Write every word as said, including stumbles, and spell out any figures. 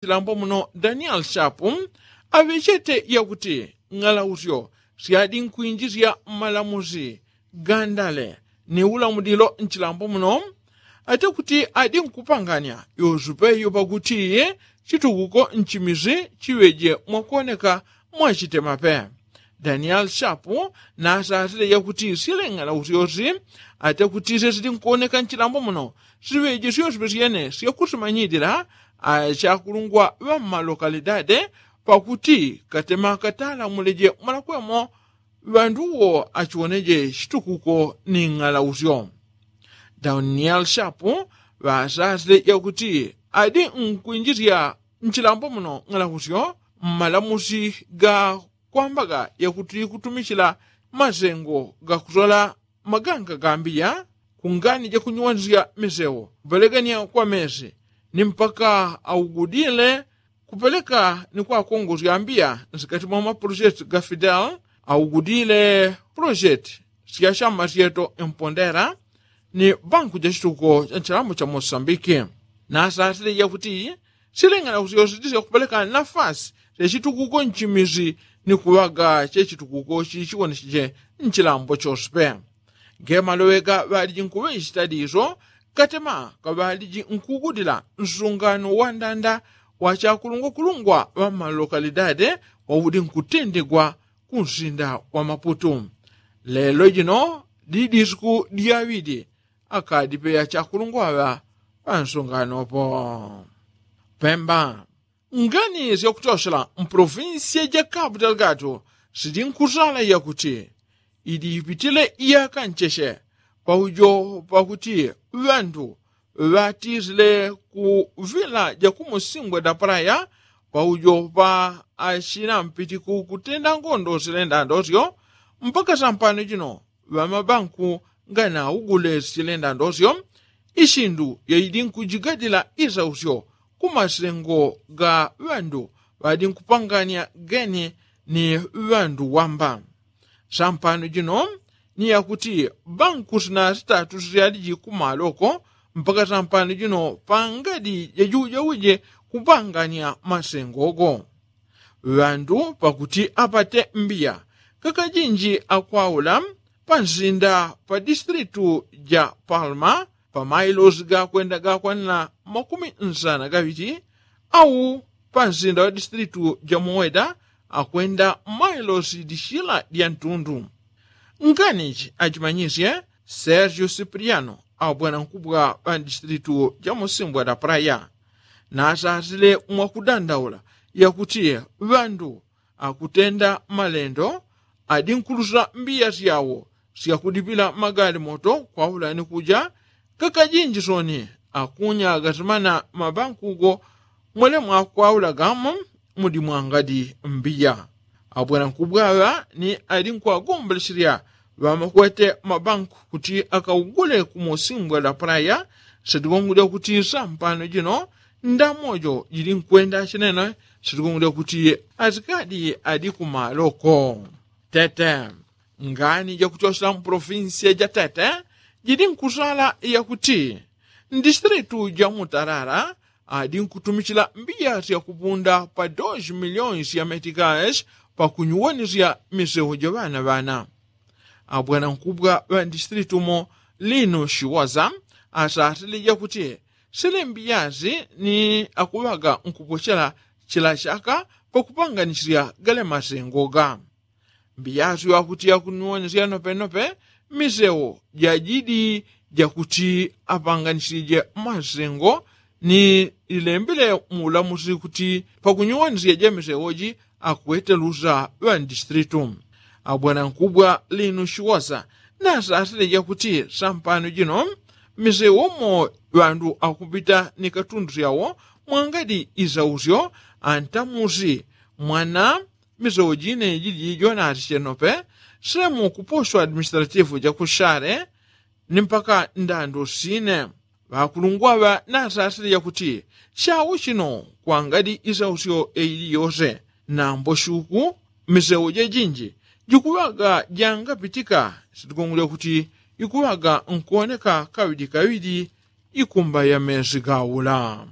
chilambo muno daniel shapu aŵechete yakuti ng'alausyo syadi nkwinjisya mmalamusi gandale ni ulamulilo nchilambo muno ate kuti adi nkupanganya yosupe yopakuti chitukuko nchimisi chiŵeje mwakuoneka mwachitemape. Daniel shapu nasasile yakuti sileng'alausyosi ate kuti sesili nkuoneka nchilambo muno siŵeje syoswe syene syakusimanyilila achakulungwa ŵammalokalidade pakuti katema katalamuleje mwalakwemo ŵandu wo achiwoneje chitukuko ni ng'alausyo. Daniel shapu ŵasasile yakuti adi nkwinjisya nchilambo muno ng'alausyo mmalamusi ga kwambaga yakuti kutumichila masengo gakusola maganga gambiya kungani jakunyuwanisya misewo kupelekania kwa mesi ni mpaka augudile kupeleka ni kwakongosya ambiya nsikati mwa maprojeti ga fidel augudile projeti sya shama syeto mpondera ni banku ja chitukuko cha nchilambo cha mosambiki. Nasasile yakuti sileng'ana kuti yosi tisya kupeleka nafasi sya chitukuko nchimisi ni kuŵaga che chitukuko chichiwoneseche nchilambo chospe. Ngemaloŵeka ŵaliji nkuŵechita diso katema kaŵaliji nkugudila nsungano wa ndanda wa chakulungwakulungwa ŵa mmalokalidade waudi nkutindikwa ku nsinda wa maputu. Lelo jino di disiku dyaŵidi akadipeya chakulungwaŵa pansunganopo. Pemba. Ngani syakutyosela mpolofinsiya ja kapu talgatu sili nkusala yakuti idi ipitile iyaka ncheche paujo pakuti ŵandu ŵatisile ku vila ja kumusimbwe da palaya paujo pa achina mpitiku kutenda ngondo silenda ndosyo mpaka sampano jino ŵamabanku nganaugule silenda ndosyo. Isindu yaidi nkujigadila isausyo ku masengo ga ŵandu ŵadi nkupangania geni ni ŵandu wamba. Sampano jino ni yakuti banku sina sitatu sisyaliji kumaloko mpaka sampano jino pangadi jajujauje kupangania masengo go ŵandu pakuti apate mbiya kakajinji akwaula pansinda pa distilitu ja palma pa mailosi gakwenda gakwanila makumi nsana gaŵiti au pansinda wa distilitu ja moweda akwenda mailosi dishila dya ntundu. Nganichi achimanyisye sergio cipriano abwanankubwa ŵa distilitu ja musimbwa da praya nasasile mwakudandaula yakuti ŵandu akutenda malendo adi nkulusa mbiya syawo syakudipila magali moto kwaula ni kuja kakajinji soni akunya gasimana mabankugo mwele mwakwaula gamo mudi mwangadi mbiya. Abwanankubwa ŵa ni adi nkwagombolesilya ŵamakwete mabanku kuti akaugule ku musimbwa da praya. Sitigongo dyakuti sampano jino ndamojo jili nkwenda chinene sitigongo dyakuti asikadi adi kumaloko. Tete. Ngani jakutyosela mpolofinsiya ja tete jili nkusala yakuti ndisitilitu ja mutarara adi nkutumichila mbiya syakupunda pa dos miliyoni sya metikasi pakunyuwanisya misewo ja ŵanaŵana. Abwanankubwa ŵa ndisitilitu mo lino shiwaza asasile jakuti sile mbiya si ni akuŵaga nkupochela chila chaka pakupanganisya gale masengo ga mbiya si wakuti yakunyuwanisya nopenope misewo jajidi jakuti apanganisije masengo ni lilembile muulamusi kuti pakunyuwanisya ja misewo ji akwete lusa ŵa ndisitilitu. Abwanankubwa lino shiwasa nasasile jakuti sampano jino misewo mo ŵandu akupita ni katundu syawo mwangadi isausyo antamusi mwana misewo jine jiji jonasi chenope semu kuposwa administratifu jakushale ni mpaka ndando sine. Ŵakulungwa ŵa nasasile jakuti chawo chino kwangadi isausyo eili yose nambo shuku misewo jejinji jikuŵaga jangapitika sitikongolya kuti ikuŵaga nkuwoneka kaŵidi kaŵidi ikumba ya mesi gaula.